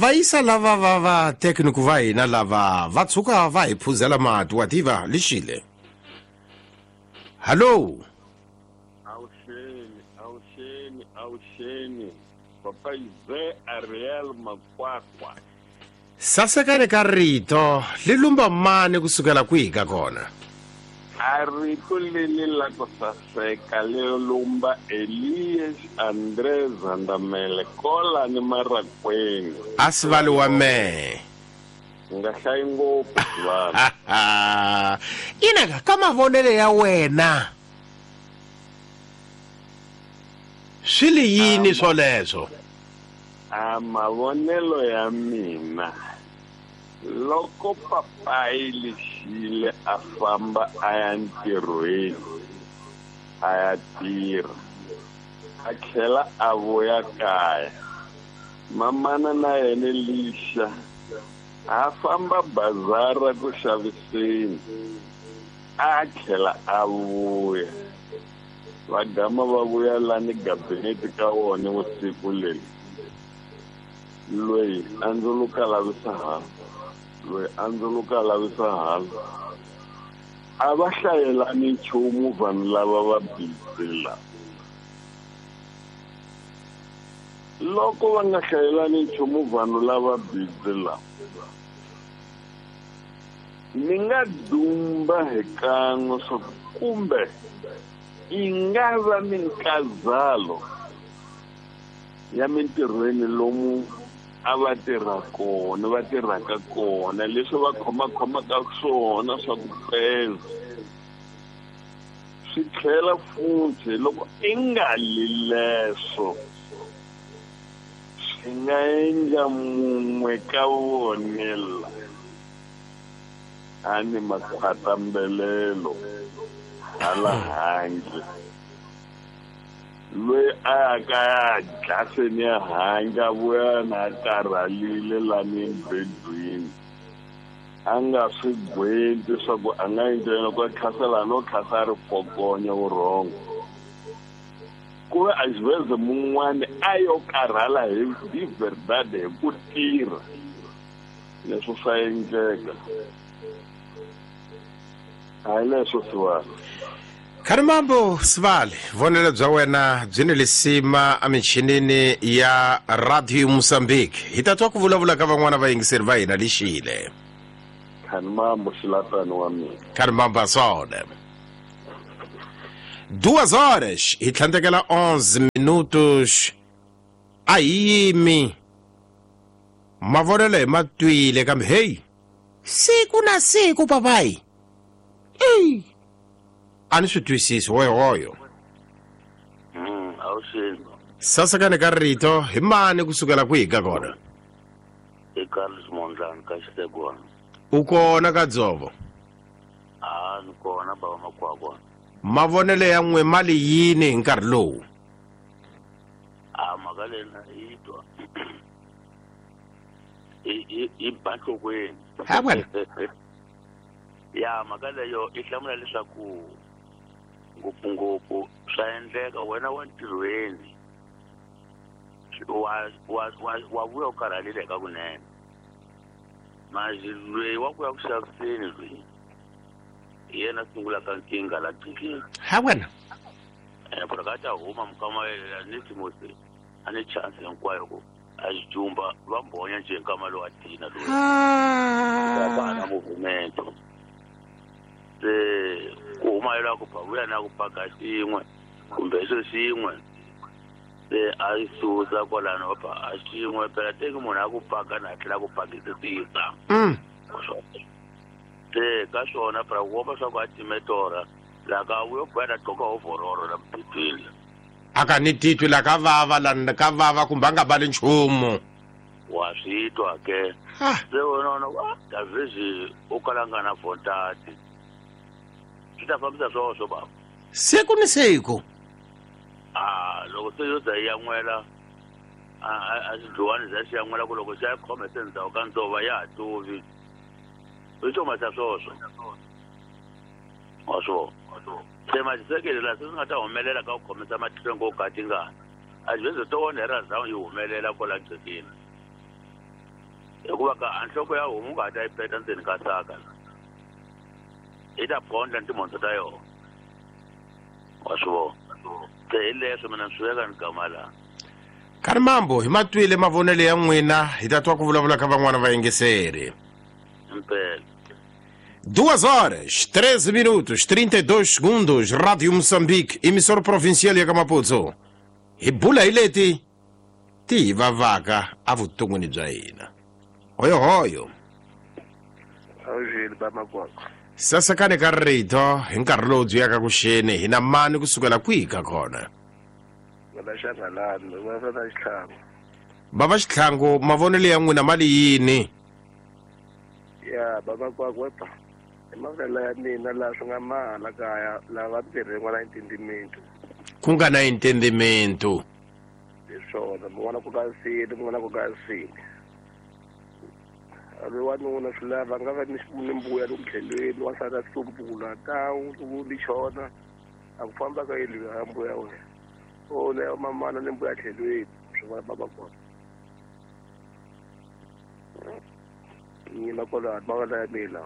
Va yisa lava va va tekniku va hina lava va tshuka va hi phuzela mati wa tiva lixile. Hallo. Awuxeni, awuxeni, awuxeni. Papa Ize Ariel Makwakwa. Sasekani ka rito li lumba mani kusukela kwihi ka kona? A rito leli la ku saseka li lumba Elias Andre Zandamele kola ni Marakweni. A sivali wa mehe. U nga hlayi ngopfu sivali. Ina ka ka mavonelo ya wena swi li yini swoleswo? A mavonelo ya mina loko papayi lexile a famba a ya ntirhweni a ya tirha a tlhela a vuya kaya mamana na yena lixa a famba bazara ku xaviseni a tlhela a vuya va gama va vuya lani gabinete ka wona vusiku leri loyi a ndzuluka lavisa hala loyi a ndzuluka lavisa hala a va hlayelani nchumu vanhu lava va busy lava loko va nga hlayelani nchumu vanhu lava busy lava ni nga dumba hi kan'we swa ku kumbe yi nga va minkazalo ya mintirhweni lomu a va tirha kona va tirhaka kona leswi va khomakhomaka swona swa ku peza swi tlhela futhi loko i nga li leswo swi nga endla mun'we ka vone la a ni makhwatambelelo hala handle loyi a ya ka ya dlaseni ya handle a vuya na a karhalile lani embedweni a nga swi gwenti swa ku a nga endla yena ku a tlhasela no tlhasa a ri fokonya vurhongo ku ve a xiveze mun'wani a yo karhala hi di verdade hi ku tirha leswo swa endleka hayi leswo sivali. Kharimambo Sivali, vonelo bya wena byi ni lisima emichinini ya Radio Mozambique. Hi ta twa ku vulavula ka van'wana vayingiseri va hina lixile. Kharimambo xilatani wa mina. Kharimambo asone. Duas horas hi tlhandlekela 11 minutos. A hi yimi. Mavonelo hi ma twile kambe hey siku na siku papayi. Ey. A ni swi twisisi hoyohoyo. Awuxeni. Sasekani ka rito hi mani kusukela kwihi ka kona? I Carlos Mondlane ka Xitegwana. U kona ka dzovo? A ni kona baba Makwakwa. Mavonelo ya n'we ma li yini hi nkarhi lowu? A mhaka leyi na yi twa. I ba nhlokweni. Ha wena. Ya mhaka leyo i hlamula leswaku ngopfungopfu swa endleka wena wa ntirhweni wa vuya u karhalile eka kunene manje loyi wa ku ya ku xaviseni loyi hi yena sungulaka nkingha la qikini. Ha wena. Ku ka ta huma mukama ni Timothy a ni chance hinkwayo ku a xijumba va mbhonya nje nkama lowu a tina loyi. Va na movement. Se ku huma yela ku ba vuya na ku paka xin'we kumbe xo xin'we se a yi susa kwalano va ba a xin'we phela teki munhu a ku paka na tlhela ku pakisisa. Se ka swona phela ku komba swa ku a time torha la ka vuyo boya na gqoka overall la mbitwini. A ka ni titwi la ka vava la ka vava kumbe a nga bali nchumu. Wa swi twa ke. Se wena wena wa Davizi u kala nga na vontati. Swi ta fambisa swoswo baba. Siku ni siku. A loko se yo za yi yan'wela a xidluwani za xi yan'wela ku loko xa khome se ndzhaku ka ndzova ya ha tuvi. I xo masa swoswo. Wa swona. Se maxisekele la se swi nga ta humelela ka ku khomisa matlhelo ngo ka tingana. A xi veze to wona hi ra zawu yi humelela kwala gcekeni. Hikuva ka nhloko ya homu nga ta yi peta ndzeni ka saka i ta pondla timhondzo ta yona wa swi vona se hi leswo mina swi veka ni gama laha. Kharimambo hi matwile mavonelo ya n'wina hi ta twa ku vulavula ka van'wana vayingiseri. Impela. 2 horas 13 minutos 32 segundos. Rádio Moçambique, emissora provincial ya ka Maputo. Hi bula hi leti ti hi vavaka evuton'wini bya hina. Hoyohoyo. Awujeli bamakwako. Sasekani ka rito hi nkarhi lowu byi yaka ku xeni hi na mani kusukela kwihi ka kona? Vana xangalani, va va Xitlhangu. Bava Xitlhangu, mavonelo ya n'wina mali yini? Ya bamakwako wepa. I mavonelo ya mina laha swi nga mahala kaya laha va tirhe n'wana intendimento. Ku nga na intendimento. Hi swona, mun'wana ku ka nsini, mun'wana ku ka nsini. Ri wanuna swi lava nga va ni mbuya loku tlhelweni, wansati a tsumbula tawu loku ni chona a ku famba ka yini ya mbuya wena. O leyo mamana ni mbuya tlhelweni, swi vona baba kona. Yima kwalaho mavonelo ya mina.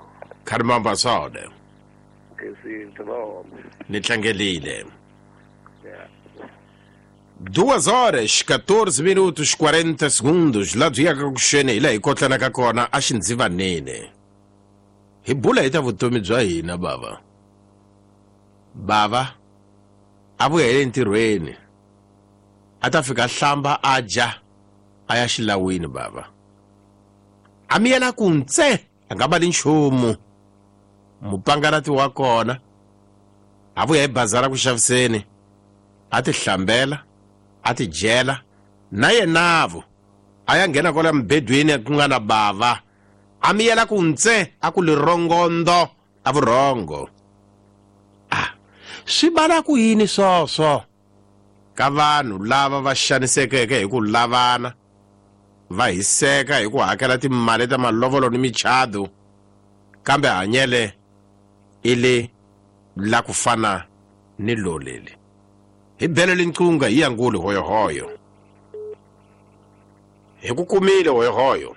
Kharimamba sode. Ni tlangelile. 2 horas 14 minutos 40 segundos. Laha byi yaka ku xeni hi laha hi kotlanaka kona a xindzivaneni. Hi bula hi ta vutomi bya hina bava. Bava a vuya hi le ntirhweni. A ta fika hlamba a dya a ya xilawini bava. A miyela ku ntse a nga vali nchumu. Mupangalati wa kona a vuya hi bazara ku xaviseni. A ti hlambela, a ti dyela na yenavo a ya nghena kwala mubedweni ku nga na bava. A miyela ku ntse a ku lirongondo a vurhongo. Ah, swi vula ku yini swoswo ka vanhu lava va xanisekeke hi ku lavana, va hiseka hi ku hakela timali ta malovolo ni michado, kambe hanyele i le la ku fana ni loleli. Hi belele nqunga hi yanguli hoyohoyo. Hi ku kumile hoyohoyo.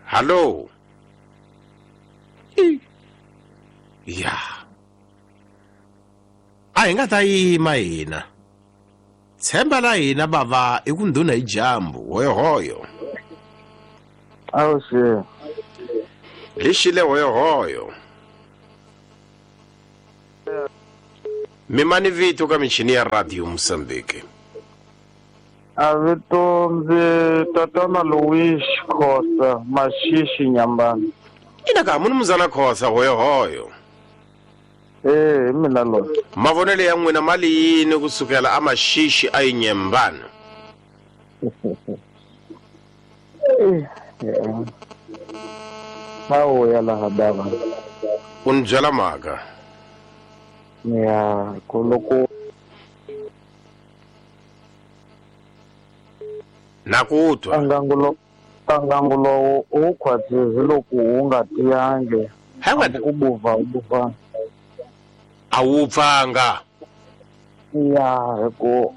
Hallo. Ya. A hi nga ta yima hina. Tshemba la hina bava i ku ndhuna hi jambu hoyohoyo. Awuxe. Hi xile hoyohoyo. Mimani vito ka michini ya Radio Mozambique. A vito ndzi tatana Louis Khosa Mashishi Nyambana. Ina ka munhu muzana Khosa hoyohoyo. Eh, mina lo. Mavonelo ya n'wina mali yini kusukela a Mashishi a Nyambana? Hawo ya laha baba. U ni byela mhaka. Ya, loko na ku twa ngangu lowu u khwatsizi loko wu nga tiyangi. Hayi u buva u buva. A wu pfanga. Ya, hi ku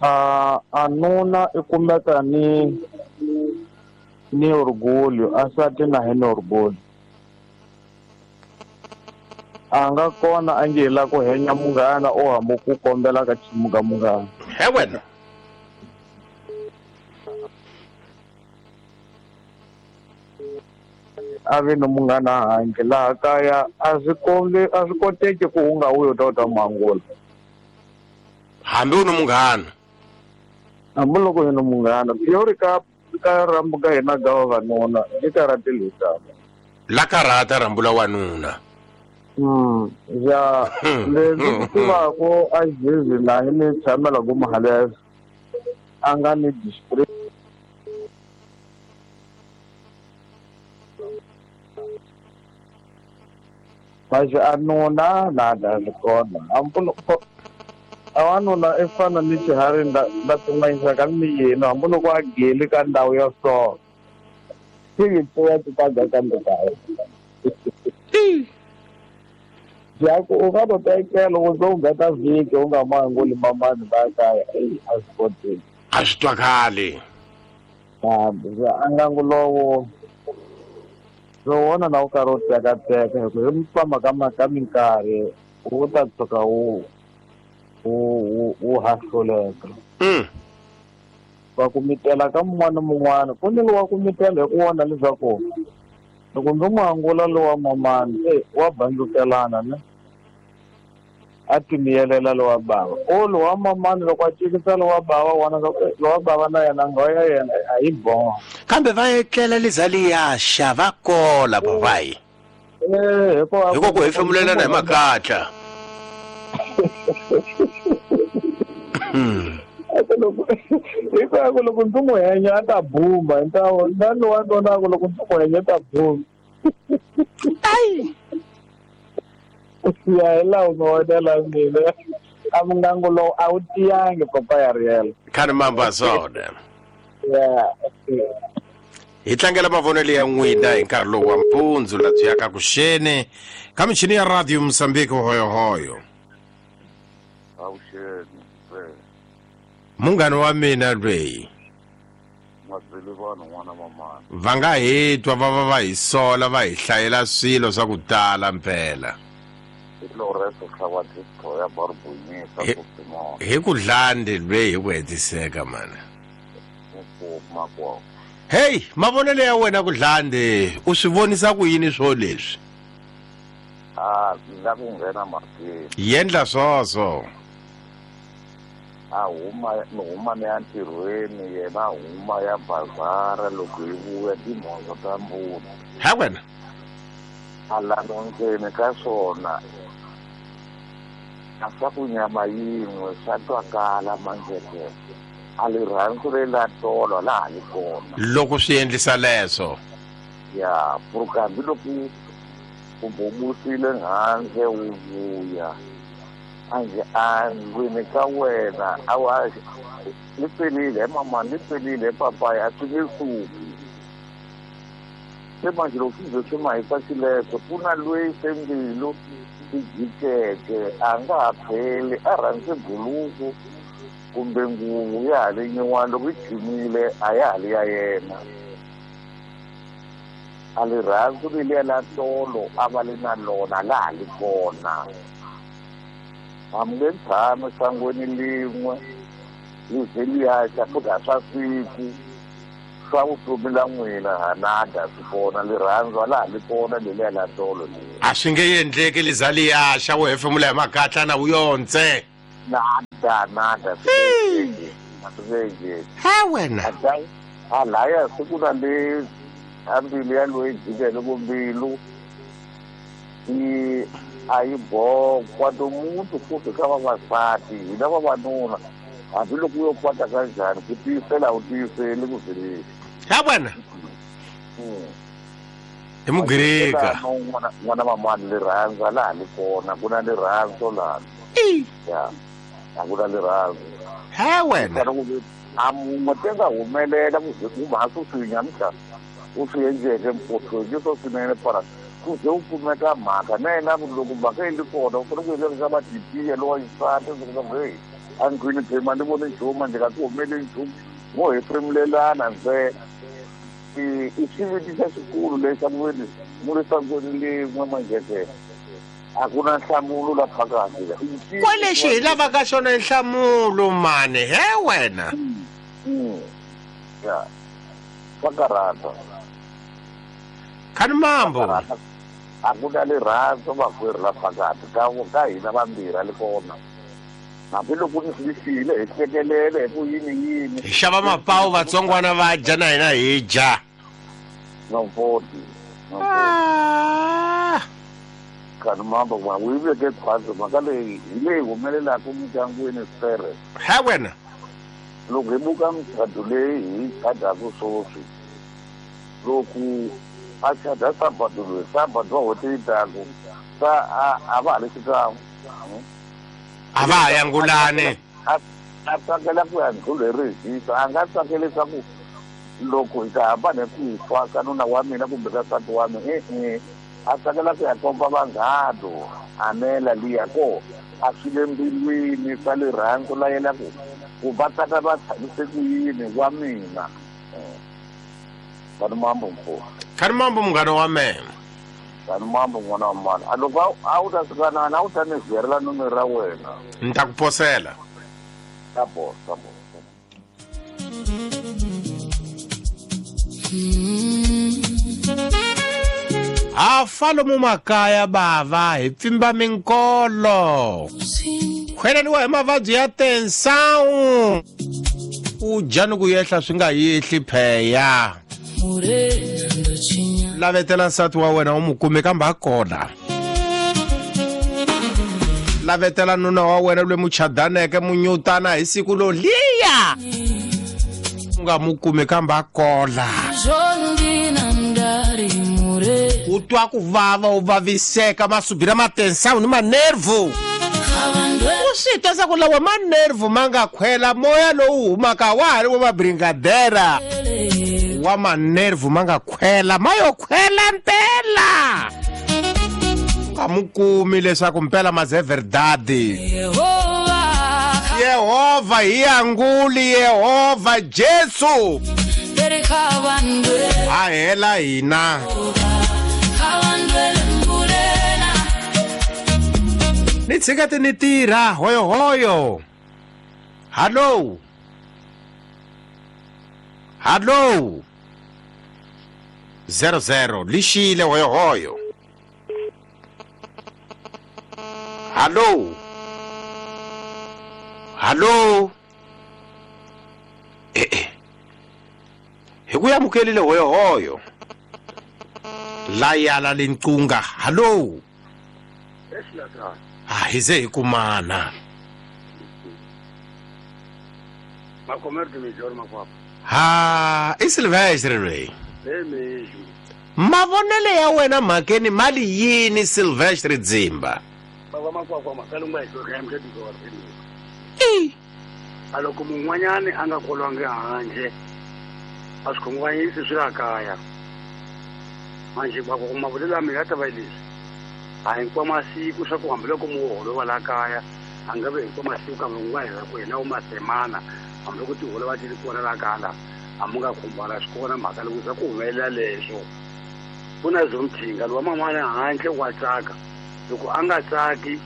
a nuna i kumeka ni orgulho, a sati na hi ni orgulho. A nga kona a nge la ku henya munghana o hambo ku kombela ka chimuka munghana. He wena. A vi no munghana handle laha kaya a swi koteki ku u nga wuyi u ta u ta mangula. Hambi u ni munghana. Hambi loko u ni munghana, theory ka rambu ka hina ga vavanuna i karatelisa. La karata rambu la wanuna. Ya leswi tivaka a jizi laha ni tshamela ku mahalesa a nga ni display. Mas a nuna nada swi kona. A wanuna i fana ni xiharhi nda tin'wanyisa ka miyeni hambi loko a geli ka ndhawu ya so. Xi pfuya ti ta ga kambe kaya. Ya ku u nga to tekela u zo ngata vhiki u nga manguli mamani la kaya a swi koteki. A swi twakali. A ngangu lowo wona na wu karhi wu tekateka hi ku hi famba ka minkarhi wu ta tshuka wu hahluleka. Va ku mitela ka mun'wana na mun'wana ku ni lowa ku mitela hi ku vona leswaku loko ndzi n'wi angula lowa mamani wa bandzukelana ne a timiyelela lowa bava o lowa mamani loko a cikisa lowa bava wona lowa bava na yena nghoya ya yena a yi boha kambe va etlela lizaliyaxa va kola babayi hiko ku hefemulelana hi makatla hikuva loko ndzi n'wi henya a ta bumba hi ntawo na lowa nonako loko ndzi n'wi henya ta bumba ya hi laha mavonelo ya mina a mungangu lowu a wu tiyangi papa ya riela khani mamba swona hi tlangela mavonelo ya n'wina hi nkarhi lowu wa mpundzu la byi yaka kuxeni ka michini ya radio Mozambique hoyohoyo munghana wa mina lweyi va nga hi twa va va va hi sola va hi hlayela swilo swa ku tala mpela hi ku dlande lweyi hi ku hetiseka mana hey mavonelo ya wena ku dlande u swi vonisa ku yini swo leswi la ku nghena mhakeni yendla swoswo a huma ni huma ni ya ntirhweni yena huma ya bazara loko hi vuya timhondzo ta mbuti ha wena a lano ndzeni ka swona a swa ku nyama yin'we swa twakala manjeke a lirhandzu leri la tolo laha li kona loko swi endlisa leswo ya pfuka hambiloko u bobusile nghandle wu vuya anje a ndlwini ka wena a wa li pelile he mama li pelile he papaya a swi nge suki se manje loko swi ze swi mahisa xileswo ku na lweyi se mbilu swi jikeke a nga ha pheli a rhandze buluku kumbe nguvu ya ha li nyuwani loko yi jimile a ya ha li ya yena a lirhandzu leliya la tolo a va li na lona la ha li kona a mi nge tshami sangweni lin'we li ze liyaxa futhi a swa siku swa vutomi la n'wina hanada swi kona lirhandzu a la ha li kona leliya la tolo leri a swi nge endleki liza liyaxa wu hefemula hi makatla na wu yontse nada nada swi nge a swi nge endleki he wena a laya siku na le a mbilu ya loyi jikele ku mbilu yi a yi bokwa tomuntu futhi ka vavasati hina vavanuna hambiloko u yo kwata kanjhani ku tiyisela a wu tiyiseli ku zeleni ha wena hi mugirika n'wana mamani lirhandzu a laha li kona ku na lirhandzu lani ya a ku na lirhandzu he wena a mun'we te nga humelela ku ze ku mhasi u swi nyamutlha u swi endleke mpothweni swo swinene para ku ze u kumeka mhaka na yena loko mhaka yi li kona u fanele ku endla leswaku va tipiya lowa xisati leswaku heyi a ndlwini phema ni voni nchumu ndzi nga ti humeli nchumu mo hefemulelana ntsena i xiviti xa xikulu lexi a ku veni mu le sangweni lin'we manjeke a ku na nhlamulo la phakathi kwalexi hi lavaka xona i nhlamulo mani he wena ya swa karhata khani mambo a ku na lirhandzu makwerhu la phakathi ka hina vambirhi a li kona hambiloko ni swi file hi hlekelele hi ku yini yini hi xava mapawu vatsongwana va dya na hina hi dya nomfoti khani mambo ma wu yi veke khwatsi mhaka leyi hi leyi humelelaka mindyangwini sere he wena loko hi buka muchado leyi hi chadaku swoswi loko a chada sabado loyi sabado wa hweti yi taku sa a va ha li xikan'we a va ha yangulani a tsakela ku ya ndlulu hi rihisa a nga tsakeli leswaku loko hi ta hambana hi ku fa ka nuna wa mina kumbe ka nsati wa mina e-e a tsakela ku ya komba vanghano anela liya ko a swi le mbilwini swa lirhandzu la yena ku va tsaka va tshamise ku yini wa mina. Kani mambo mkulu. Kani mambo munghana wa mina. Kani mambo n'wana wa mani. A loko a wu ta fika na a wu ta ni zerela nomero ra wena. Ni ta ku posela. Ta bosa, ta bosa. Ha fa lomu makaya bava hi pfimba minkolo. Khweleriwa hi mavabyi ya tensawu. U dya ni ku yehla swi nga yehli pheya. Lavetela nsati wa wena u mu kume kambe a kona. Lavetela nuna wa wena loyi muchadaneke munyutana hi siku lo liya. U nga mu kumi kambe a kola. U twa ku vava u vaviseka masubira matensawu ni manervu. U swi twa swa ku lawa manervu ma nga khwela moya lowu humaka wa ha ri wa mabringadera. Wa manervu ma nga khwela ma yo khwela mpela. Nga mu kumi leswaku mpela maze verdade. Yehova hi anguli Yehova Jesu. A hela hina. Ni tshika ti ni tirha hoyo hoyo. Hallo. Hallo. 00 lixile hoyo hoyo. Hallo. Hallo. Hi ku amukelile hoyo hoyo. Layala lenqunga. Hallo. Ah, hize hi kumana. Ha, i Silvestre loyi. Mavonelo ya wena mhakeni mali yini Silvestre Dzimba? A loko mun'wanyani a nga kolwangi handle a swi khunguvanyisi swi la kaya manje mavulelo ya mina ya ta va leswi a hinkwa masiku swa ku hambiloko muholo wa la kaya a nga ve hinkwa masiku kambe un'wana hi ku hina wu masemana hambiloko tiholo va ti ri kona la kaya la a mu nga khumbana swi kona mhaka loko swa ku humelela leswo ku na zomthinga lowa man'wana handle wa tsaka loko a nga tsaki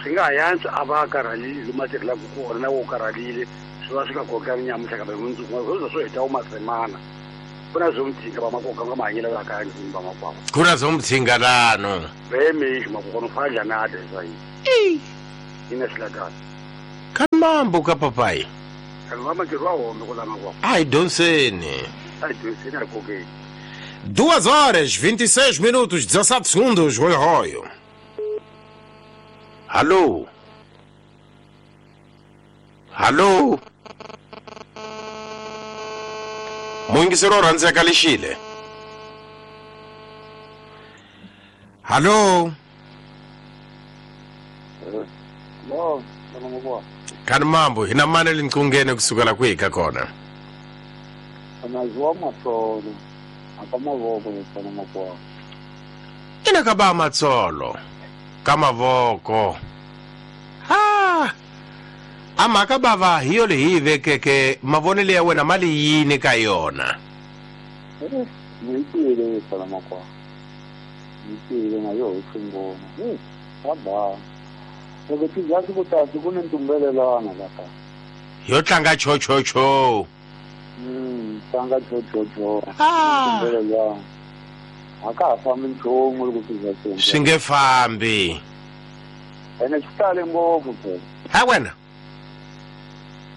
swi nga ha yantswa a va a karhalile lomu a tirhelaka kona na wo karhalile swi va swi nga kokani nyamutlha kambe mundzuku swo swo heta wu masemana ku na zomthinga va makoka nga mahanyelo la kaya ndlwini va makwavo ku na zomthinga lano vemixo makokona u fana njhani a dya yini ina xilakana ka mambo ka papai kanhu va matirhi wa hombe ku la makwavo a hi dyondzeni a hi dyondzeni a hi kokeni 2 horas 26 minutos 17 segundos hoyo hoyo. Hallo. Hallo. Muyingiseri wo rhandzeka lexile. Hallo. No, Kani mambo hina mani linqungene kusukela kwihi ka kona? Anaziwa matsolo aka mavoko yetsana makwavo. Ina ka ba matsolo ka mavoko. Ha! A mhaka bava hi yo leyi hi vekeke mavonelo ya wena mali yini ka yona? Ni twile yetsana makwavo. Ni twile na yo hi swi swa ba. Loko swi za swi ku tasi ku ni ntumbelelwana la ka. Yo tlanga chochocho. Tlanga chochocho. Ntumbelelwana. A ka ha fambi nchumu loko swi za swi. Swi nge fambi. Ene swi tale ngopfu phela. Ha wena.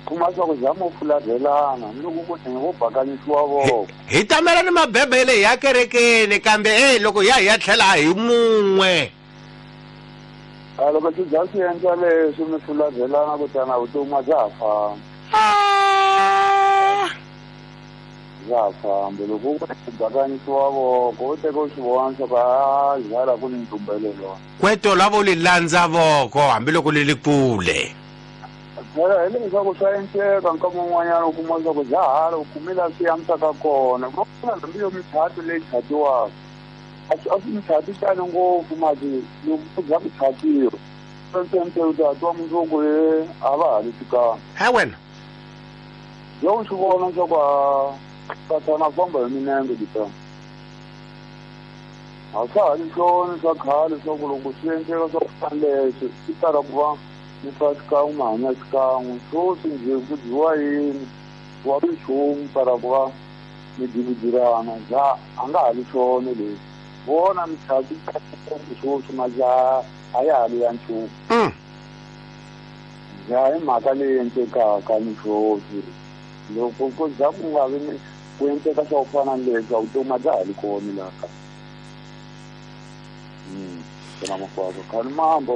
Kuma swa ku zama u fularhelana ni loko ku vo bakanyisiwa voko. Hi tamela ni mabebele ya kerekeni kambe loko ya hi ya tlhela hi mun'we. A loko swi za swi endla leswi mi fularhelana kutani vutomi a bya ha fambi. Bya ha fambi loko ku bakanyisiwa voko u teka u swi vona swa ku a hala ku ni ntumbelelwana. Kweto lavo li landza voko hambiloko li li kule. Phela hi leswaku swa endleka nkama wun'wanyana u kuma leswaku bya hala u kumi laha swi antswaka kona ku na hambi yo michato leyi chatiwaka a swi michato tani ngopfu mati loko ku za ku chatiwa swi u ta twa mundzuku ye a va ha li fikanga. Ha wena yo u swi vona leswaku Sathana famba hi minenge ditana. A swa ha ri swona swa khale swa ku loko swi endleka swa ku fana leswi swi tala ku va mi fa xikan'we mi hanya xikan'we sweswi njhe ku dyiwa yini wa minchumu tala ku va mi dividirana ja a nga ha ri swona leswi vona michati sweswi majaha a ya ha ri ya nchumu. Ja hi mhaka leyi endlekaka ni sweswi loko ku za ku nga vi ku endleka swa ku fana ni leswi a vutomi a bya ha ri kona laha kaya. Na makwavo khani mambo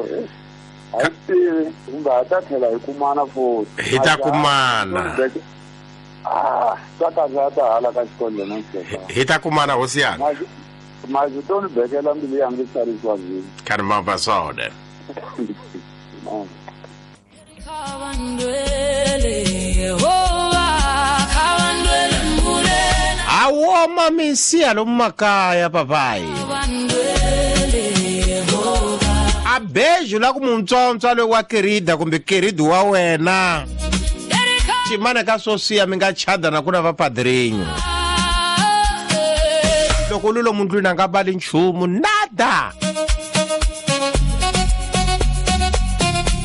a hi tivi kumbe ha ta tlhela hi kumana futhi. Hi ta kumana. Swa karhata hala ka xikolo na xikolo. Hi ta kumana hosi yanga. Mazi to ni bekela mbilu yanga yi tsarisiwa byini. Khani mambo swona. Awoma misiya lomu makaya papayi. A beju la ku muntsontswa loyi wa kerida kumbe keridi wa wena. Chimana ka swosiya mi nga chada na ku na vapadrinho. Loko lulo mundlwini a nga bali nchumu nada.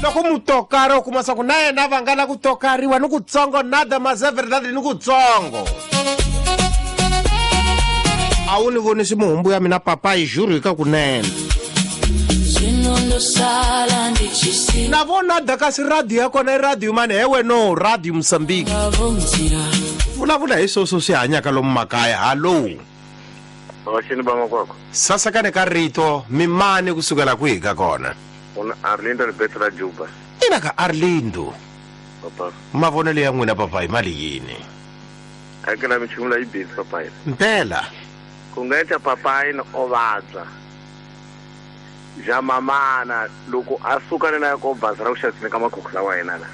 Loko mutokari u kuma swa ku na yena va nga la ku tokariwa ni kutsongo nada mazeverdade ni kutsongo. A wu ni vonisi muhumbu ya mina papayi juru hi ka kunene. Na vona da kasi radio ya kona i radio mani hewe no radio Mozambique. Vulavula hi sweswo swi hanyaka lomu makaya. Hallo. Vaxini va makwako. Sasakane ka rito mimani kusukela kwihi ka kona? Una Arlindo Alberto la Juba. Ina ka Arlindo. Papa. Mavonelo ya n'wina papayi mali yini? Hakela minchumu leyi busy papayi. Mpela. Ku nga endla papayi ni o vabya. Ja mamana loko a suka na ko bazi ra ku xaviseni ka makhokho lawa yena la.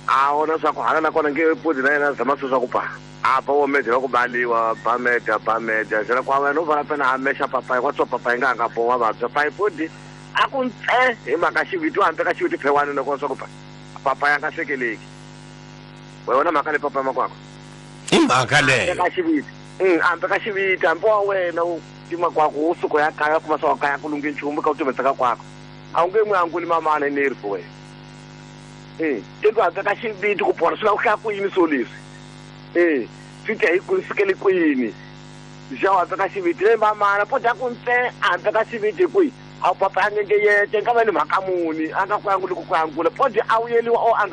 A vona swa ku hala na kona nge pudi na yena zama swi swa ku pa. A ba wo medya ku baliwa ba medya ba medya jela kwa wena u vona pena a mexa papayi kwa tswa papayi nga nga bowa vabya payi pudi a ku ntse hi mhaka xiviti wa hambi ka xiviti phewani loko swa ku pa papayi a nga hlekeleki. Wa vona mhaka le papayi makwako. I mhaka leyo. Ka xiviti. Hambi ka xiviti hambi wa wena u tima kwako u suka ya kaya kuma swa kaya ku lunghe nchumu ka u timetsaka kwako. A wu nge n'wi anguli mamana ni ri wena. Tiko hambi ka xiviti ku pona swi lava ku hlaya ku yini swo leswi. Swi ta hi ku sukele kwini. Ja hambi ka xiviti le mamana po dya ku ntse hambi ka xiviti kwihi. A papa a nge yete nga va ni mhaka muni a nga ku anguli ku angula po dya a wuyeliwa o anga